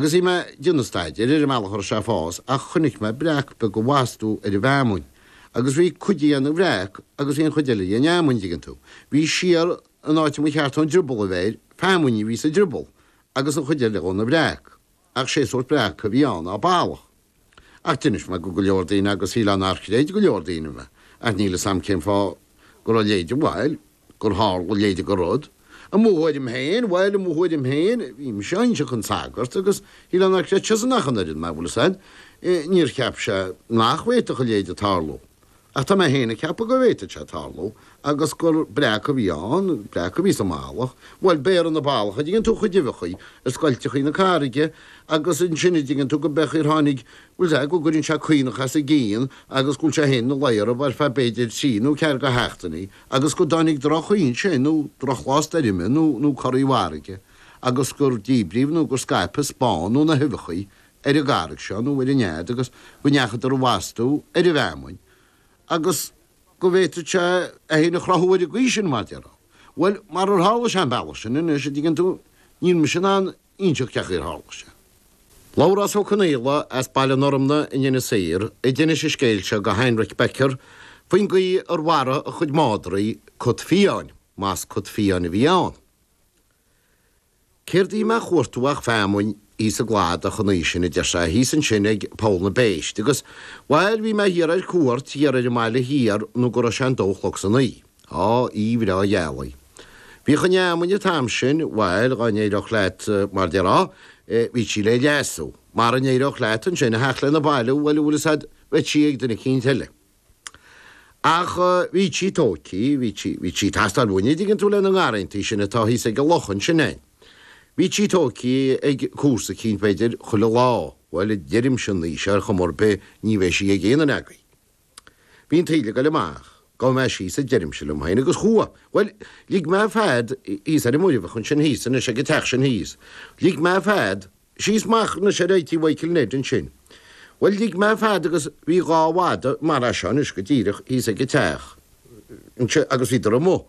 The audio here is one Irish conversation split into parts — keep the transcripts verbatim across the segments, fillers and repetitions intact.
Agus bhí mé ag déanamh staidéir ar an mbealach a raibh sé ag fás ach chonaic mé breac beag ag bhastú ar an bhfeamainn agus bhí cuid dhe ina bhreac agus bhí an chuid eile dhe ina fheamainn, an dtuigeann tú. Bhí siar an áit a mba cheart don drioball a bheith air, feamainn a bhí sa drioball agus an chuid eile dhe ina bhreac. Ach sé sórt breac a bhí ann ná ballach. Ach d'inis mé go go leor daoine agus shílfeá nár chreid go leor daoine mé. Ach níl 'fhios a'm cén fáth go raibh a leithéid, bhuel, gur tharla a leithéid de rud. I mo thuairim féin, bhuel, i mo thuairim féin, bhí mise á inse chun sagart agus shílfeá nár chreid seisean ach an oiread mé, bhfuil 'fhios a'd, níor cheap sé nach bhféadfadh a leithéid tarlú. Ach tá mé féin ag ceapadh go bhféadfadh sé tarlú agus gur breac a bhí ann, breac a bhí sa mballach. Bhuel, béarann na ballach, a dtuigeann tú, a chuid uibheachaí i scoilteachaí na carraige agus ansin a dtuigeann tú go mbeadh ar tháinig, bhfuil 'fhios a'd, go gcuireann sé caonach as a gcionn agus go bhfuil sé féin ina luí orthu ar feadh b'fhéidir trí nó ceathair de sheachtainí agus go dtáinig droch-ghaoth ansin nó drochlá stoirme nó nó corraí farraige agus gur díbríodh nó gur scaipeadh spán nó na huibheachaí ar an gcarraig seo nó ar an nead agus go ndeachadar a bhastú ar an bhfeamainn agus go bhféadfadh sé é féin a chruthú ar an gcaoi sin, mar déarfá. Bhuel, marar tharla sé an bealach sin anois, a dtuigeann tú, níl mise in ann inseacht cén chaoi ar tharla sé. Labhrás Ó Conaola as Baile an Fhormna in Inis Oírr a d'inis an scéal seo go Heinrich Becker faoin gcaoi ar mharaigh a chuid madraí cat fiáin, más cat fiáin a bhí ann. Céard a bhí mé a chuartú ach feamainn thíos i gcladach an oíche sin, a deir sé, thíos ansin ag Poll na bPéist, agus, bhail, bhí mé thiar ar cuairt thiar ar an mbaile thiar nó go raibh sé an dó a chlog san oíche. Á, oíche bhreá ghealaí. Bhíodh an fheamainn an t-am sin, bhail, dhá n-éireodh leat, mar déarfá, bhí sí le leasú. Mara n-éireodh leat ansin a theacht lena bailiú, bhuel, an bhfuil 'fhios a'd, bheadh sí ag duine eicínt eile. Ach bhí sí tóigthe, bhí sí, bhí sí ag teastáil uainn, an dtuigeann tú, lena ngarrantaí sin atá thíos ag an loch ansin a'inn. Bhí sí tóigthe ag comharsa eicínt, b'fhéidir, chuile lá. Bhuel, a deirimse an oíche seo ar chuma ar bith, ní bheidh sí ag aon duine agaibh. Bhí an taoille ag goil amach. Gabhfaidh mé síos, a deirimse liom féin, agus chuaigh. Bhuel, lig mé fead thíos ar an Muirbheach ansin thíos anois ag an teach sin thíos. Lig mé fead síos amach anois ar aghaidh tí Mhichael Ned ansin. Bhuel, lig mé fead agus bhí dhá mhada mar é seo anois go díreach thíos ag an teach anseo agus bhíodar amuigh.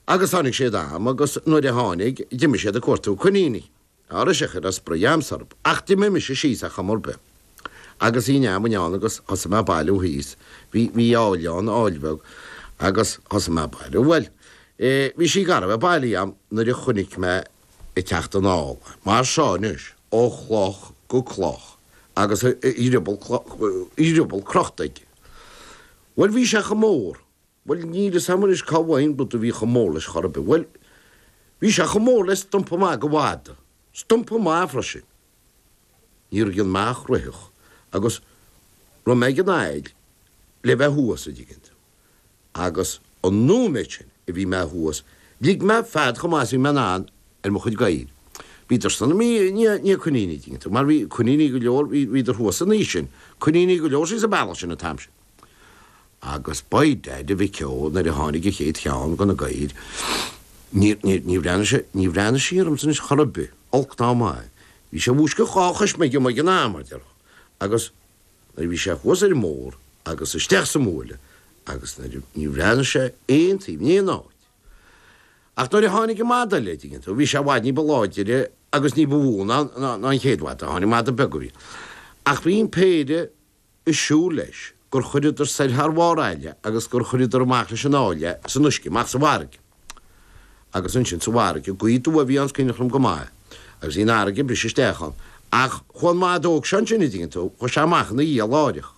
Agus tháinig siad a'm agus nuair a tháinig, d'imigh siad ag cuartú coiníní. Á raibh sé chur as spraoi a'msa orthu. Ach d'imigh mise síos ar chuma ar bith. Agus bhí an fheamainn ann agus thosaigh mé ag bailiú thíos. Bhí, bhí aill ann, aill bheag, agus thosaigh mé ag bailiú. Bhuel, eh, bhí sí gar a bheith bailithe a'm nuair a chonaic mé ag teacht anall é. Mar seo anois, ó chloch go cloch, agus a, a dhrioball, a dhrioball crochta aige. Bhuel, bhí sé chomh mór. Bhuel, níl 'fhios a'm anois cá bhfaighinn rud a bhí chomh mór leis chor ar bith. Bhuel, bhí sé chomh mór le stumpa maith de mhada. Stumpa maith freisin. Níor dhein mé ach ritheadh agus rith mé ag an aill le bheith thuas, a' dtuigeann tú. Agus an nóiméad sin a bhí mé thuas, lig mé fead chomh maith is a bhí mé in ann ar mo chuid gadhair. Bhíodar san i ndiaidh coiníní, a' dtuigeann tú, mar bhí coiníní go leor, bhíodar thuas an oíche sin, coiníní go leor síos an bealach sin an t-am sin. Agus by dad, a mhic ó, nuair a tháinig an chéad cheann de na gadhair, níor, níor, ní bhreathnaigh sé, ní bhreathnaigh sé ormsa anois chor ar bith, olc ná maith. Bhí sé ag múscailt dhá chois ag an am, mar déarfá. Agus nuair a bhí sé thuas ar an mbóthar agus isteach sa mbuaile agus nuair a, ní bhreathnaigh sé aon taobh, in aon áit. Ach nuair a tháinig an mada eile, a dtuigeann tú, bhí sé i bhfad ní ba láidire agus ní ba mhó ná, ná, ná an chéad mhada. Tháinig mada beag a bhí. Ach bhí an péire ag siúl leis gur chuireadar soir thar bharr aille agus gur chuireadar amach leis an aill é san uisce, amach sa bhfarraige. Agus ansin sa bhfarraige, gaoth aduaidh a bhí ann is cuimhneach liom go maith, agus bhí an fharraige ag briseadh isteach ann. Ach chuaigh an mada óg seo ansin, a dtuigeann tú, chuaigh sé amach ina dhiaidh láithreach.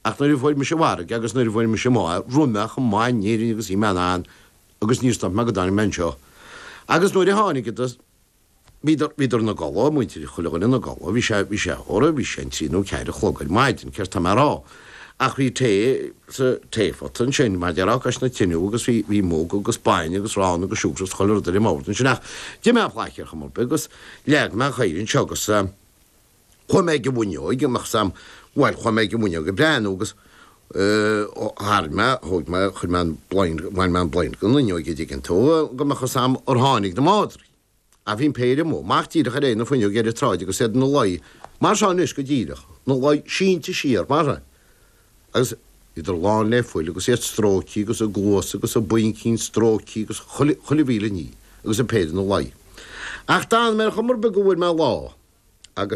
Ach nuair a fuair mise an fharraige agus nuair a fuair mise amach é, rith mé chomh maith in Éirinn agus bhí mé in ann agus níor stop mé go dtáinig mé anseo. Agus nuair a tháinigeadar, Bhíodar, bhíodar ina gcodladh, muintir chuile dhuine ina gcodladh, bhí sé, bhí sé, óra, bhí sé an trí nó ceathair a chlog ar maidin, céard tá mé a rá. Ach bhí tae sa taephota ansin, mar déarfá, cois na tineadh agus bhí, bhí mug agus bainne agus arán agus siúcra agus chuile rud ar an mbord ansin ach d'ith mé plaice ar chuma ar bith agus leag mé an chaora anseo agus eh, chuaigh mé ag an bhfuinneoig, an mbeadh sam, bhuel, chuaigh mé ag an bhfuinneoig ag breathnú agus eh, tharraing mé, thóg mé, chuir mé an blind, bhain mé an blind den fhuinneoig, a' dtuigeann tú, go mbeadh fhios a'm ar tháinig na madraí. Ach bhí an péire amuigh, amach díreach ar aghaidh na fuinneoige ar an tsráid agus iad ina luí mar seo anois go díreach, ina luí sínte siar mar seo. Agus bhíodar lán le fuil agus iad stróicthe agus a gcluasa agus a bpuincín stróicthe agus chuile, chuile mhíle ní agus an péire ina luí. Ach d'fhan mé ar chuma ar bith go bhfuair mé lá.